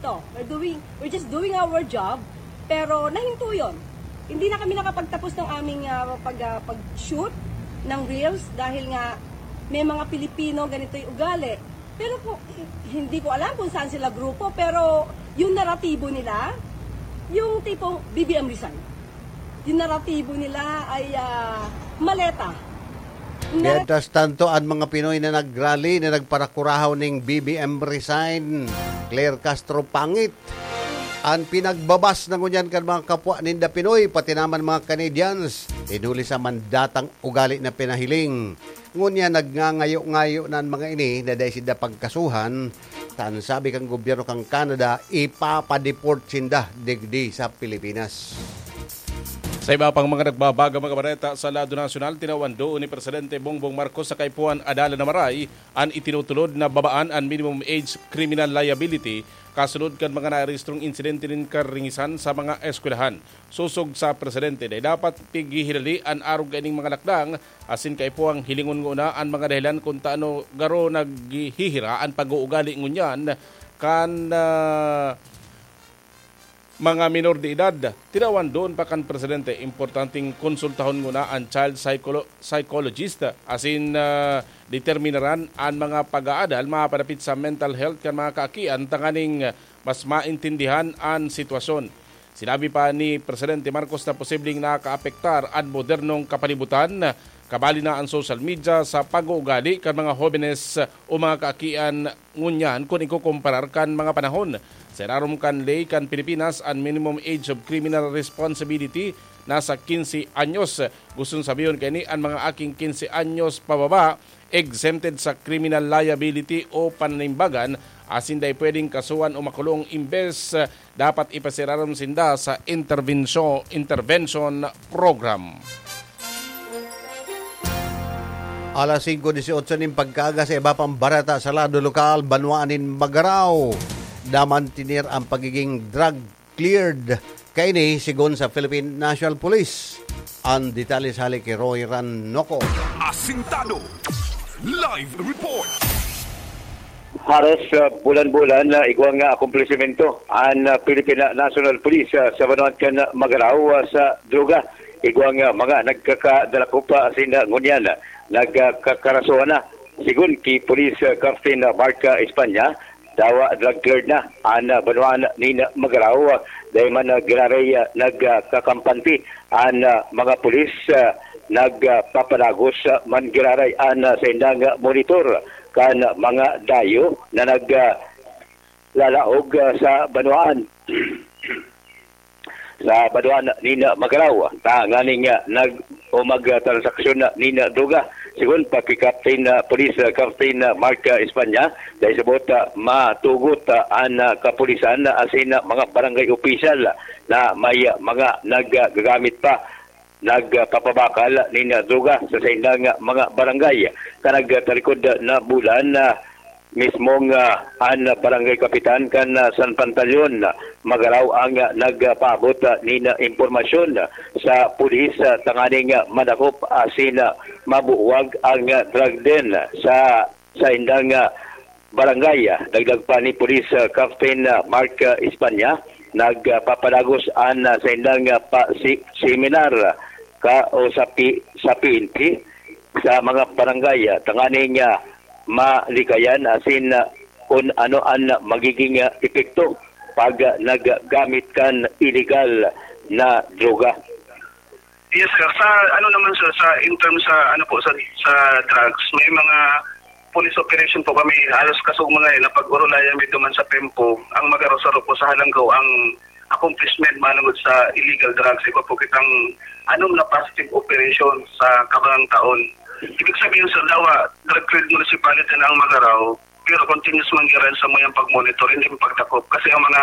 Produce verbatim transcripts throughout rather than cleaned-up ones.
Ito, we're doing, we're just doing our job, pero nahinto yun. Hindi na kami nakapagtapos ng aming, ah, pag, ah, pag-shoot ng reels dahil nga may mga Pilipino ganito yung ugali. Pero kung, hindi ko alam kung saan sila grupo, pero yung naratibo nila, yung tipong B B M resign. Yung naratibo nila ay, ah, maleta. Mientras tanto, an mga Pinoy na nagrally, na nagparakurahaw ning B B M resign, Claire Castro pangit. An pinagbabas na ngunyan kan mga kapwa ninda Pinoy, pati naman mga Canadians, hinuli sa mandatang ugali na pinahiling. Ngunyan nagngangayo-ngayo na an mga ini na dai sinda pagkasuhan, ta an sabi kan gobyerno kan Canada, ipapadeport sinda digdi sa Pilipinas. Sa iba pang mga nagbabagang mga bareta sa lado nasyonal, tinawan doon ni Presidente Bongbong Marcos sa kaipuhan Adalan na Maray an itinutulod na babaan an minimum age criminal liability kasunod kan mga narehistrong insidente nin karingisan sa mga eskwelahan. Sosog sa Presidente, dai dapat pighihilali an arog kaining mga lakdang asin kaipuhang hilingon ngona an mga dahilan kun tano garo naghihira an pag-uugali ngunyan kan, ah, mga minor de edad. Tinawan doon pa kan Presidente, importanteng konsultahon ngona an child psycholo-, psychologist asin, ah, determinaran an mga pag-aadal mapadapit sa mental health kan mga kaakian tanganing mas maintindihan an sitwasyon. Sinabi pa ni Presidente Marcos na posibleng nakaapektar an modernong kapalibutan, kabali na an social media, sa pag-uugali kan mga hobenes o mga kaakian ngunyan kun ikukomparar kan mga panahon. Sa irarom kan ley kan Pilipinas, an minimum age of criminal responsibility nasa quince anyos. Gustong sabihon kaini, an mga aking quince anyos pababa exempted sa criminal liability o pananimbagan, asin dai pwedeng kasuhan o makulong, imbes, dapat ipasirarom sinda sa interbensyon, intervention program. Alas singko dieciocho nin pagkaaga, sa iba pang bareta sa lado lokal, banwaan nin Magarao, namantener ang pagiging drug cleared kaini, sigon sa Philippine National Police. Ang detalye sa hali ki Roy Ranoco. Asintado. Live report. Haros, ah, bulan-bulan na igwa nga akomplisimento an, ah, Philippine National Police, ah, sa banwaan kan Magarao, ah, sa droga. Igwa nga mga nagkakadalakop pa asin, ah, ngunyan, ah, nagkakarasohan na. Sigon ki Police, ah, Captain, ah, Mark, ah, España, dawa drug cleared na an, ah, banwaan nin Magarao, ah, dai man, ah, giraray, ah, nagkakampante an, ah, mga pulis, ah, nagpapadagos, ah, man giraray an, ah, saindang, ah, monitor kan mga dayo na nag, ah, lalaog, ah, sa banwaan. Sa banwaan nin Magarao, tanganing, ah, nag-, o magtransaksyon nin droga. Sigon pa ki Captain, ah, Police, ah, Captain, ah, Mark, ah, España, dahil sa buot, ah, matugot, ah, an, ah, kapulisan, ah, asin, ah, mga barangay opisyal na may, ah, mga naggagamit pa, nagpapabakal nin, ah, droga sa saindang, ah, mga barangay. Sa nagtalikod na bulan, ah, mismong, ah, an barangay kapitan kan, ah, San Pantaleon, ah, Magarao ang, ah, nagpaabot, ah, nin, ah, impormasyon, ah, sa pulis, ah, tanganing, ah, madakop asin, ah, mabuwag ang, ah, drug den sa saindang, ah, barangay. Dagdag pa ni Police, ah, Captain, ah, Mark, ah, España, nagpapadagos an, ah, saindang, ah, pa-, si-, seminar ka o sa P-, sa P N P sa mga barangay, ah, tanganing, ah, malikayan asin, ah, kun ano an magiging, ah, epekto pag, ah, naggamit kan iligal na droga. Yes, sir. Sa ano naman, sir, sa in terms sa ano po, sa, sa drugs, may mga police operation po kami, halos kasog mga yun, na pag-urulayan may duman sa Pempo, ang Magarao saro po sa Halanggaw ang accomplishment manungod sa illegal drugs. Iba po kitang anom na positive operation sa kabangang taon. Ibig sabihin, sir, dawa, drug cleared municipality na ang Magarao, pero continuous man giraray sa mayang pag-monitor, hindi man pagdakop. Kasi ang mga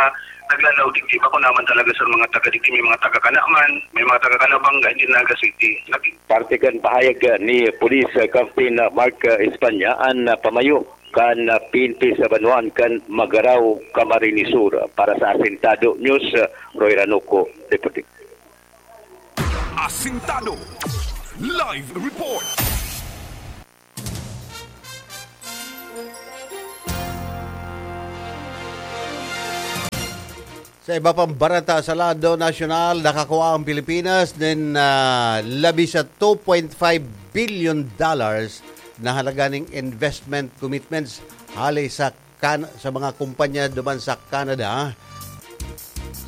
naglalaw digdi, bako naman talaga, sir, mga taga digdi, may mga taga Canaman, may mga taga Calabanga, hindi Naga City. Nag- Parte kan pahayag, ah, ni Police, ah, Captain, ah, Mark, ah, España, an, ah, pamayo kan, ah, P N P sa banwaan kan Magarao, Camarines Sur. Para sa Asintado News, ah, Roy Ranuco, reporting. Asintado. Live report. Sa iba pang bareta sa lado nasyonal, nakakua ang Pilipinas nin, ah, labi sa two point five billion dollars na halaga ning investment commitments hali sa Can-, sa mga kumpanya duman sa Canada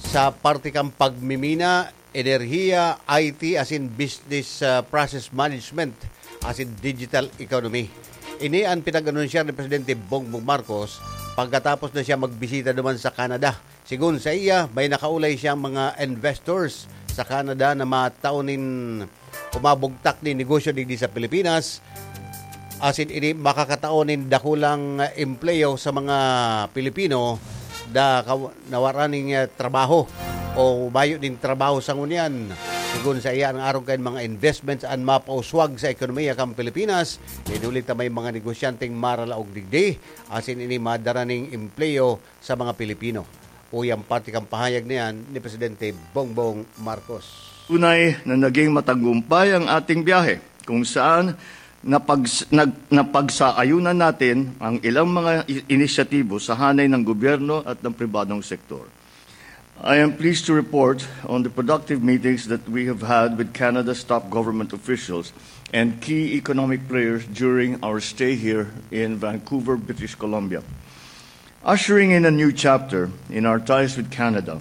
sa parte kan pagmimina, enerhiya, I T, asin business, ah, process management, asin digital economy. Ini an pinag-anunsyar ni Presidente Bongbong Marcos pagkatapos na siya magbisita duman sa Canada. Sigon saiya, may nakaulay siyang mga investors sa Canada na matao nin o mabugtak nin negosyo digdi sa Pilipinas, asin ini makakatao nin dakulang, ah, empleo sa mga Pilipino na kaw-, nawara nin, ah, trabaho o mayo nin trabaho sa ngunyan. Sigon saiya, an arog kan mga investments an mapauswag sa ekonomiya kan Pilipinas, huli ta may mga negosyanteng maralaog digdi, asin ini madara nin empleo sa mga Pilipino. Uya an parte kan pahayag na yan ni Presidente Bongbong Marcos. Tunay na naging matagumpay ang ating biyahe, kung saan napags-, nag-, napagsaayunan natin ang ilang mga i-, inisyatibo sa hanay ng gobyerno at ng pribadong sektor. I am pleased to report on the productive meetings that we have had with Canada's top government officials and key economic players during our stay here in Vancouver, British Columbia. Ushering in a new chapter in our ties with Canada,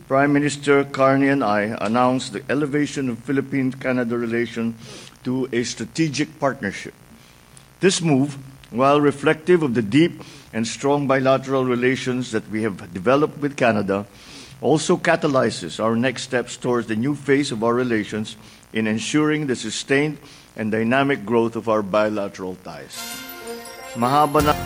Prime Minister Carney and I announced the elevation of Philippine-Canada relation to a strategic partnership. This move, while reflective of the deep and strong bilateral relations that we have developed with Canada, also catalyzes our next steps towards the new phase of our relations in ensuring the sustained and dynamic growth of our bilateral ties. Mahaba na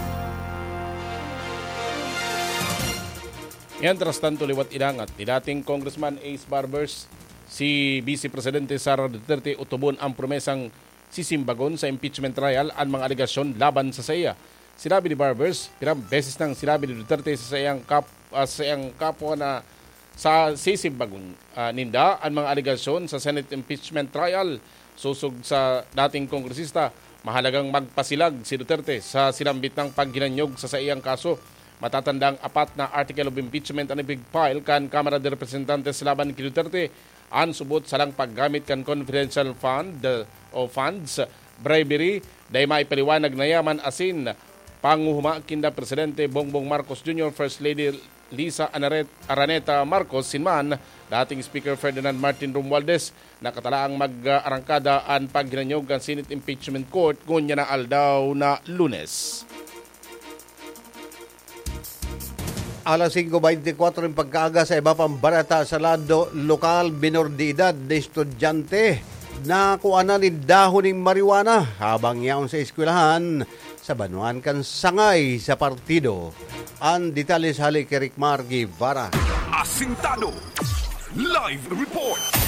Mientras tanto, liwat inangat ni dating Congressman Ace Barbers, si Vice Presidente Sara Duterte otobon ang promesang sisimbagon sa impeachment trial an mga alegasyon laban sa saiya. Sinabi ni Barbers, pirang beses nang sinabi ni Duterte sa saiyang kap-, ah, sa saiyang kapwa na sa sisimbagon, ah, ninda an mga alegasyon sa Senate impeachment trial. Sosog sa dating kongresista, mahalagang magpasilag si Duterte sa sinambit nang paghinanyog sa saiyang kaso. Matatandang apat na article of impeachment an ipig-file kan Kamara de Representantes laban ki Duterte. An subot, sarang paggamit kan confidential fund, uh, o funds, bribery, dai maipaliwanag na yaman asin panguhuma kinda Presidente Bongbong Marcos Junior, First Lady Liza Anaret-, Araneta Marcos, sin man dating Speaker Ferdinand Martin Romualdez, nakatalaang mag-arangkada an paghinanyog kan Senate Impeachment Court ngunyan na aldaw na Lunes. Alas singko beintikwatro nin pagkaaga. Sa iba pang bareta sa lado lokal, minor de edad na estudyante nakuha na nin dahon nin marijuana habang yaon sa eskwelahan sa banwaan kan Sangay sa partido. An detalye hale ki Ricmar Guevara. Asintado. Live report.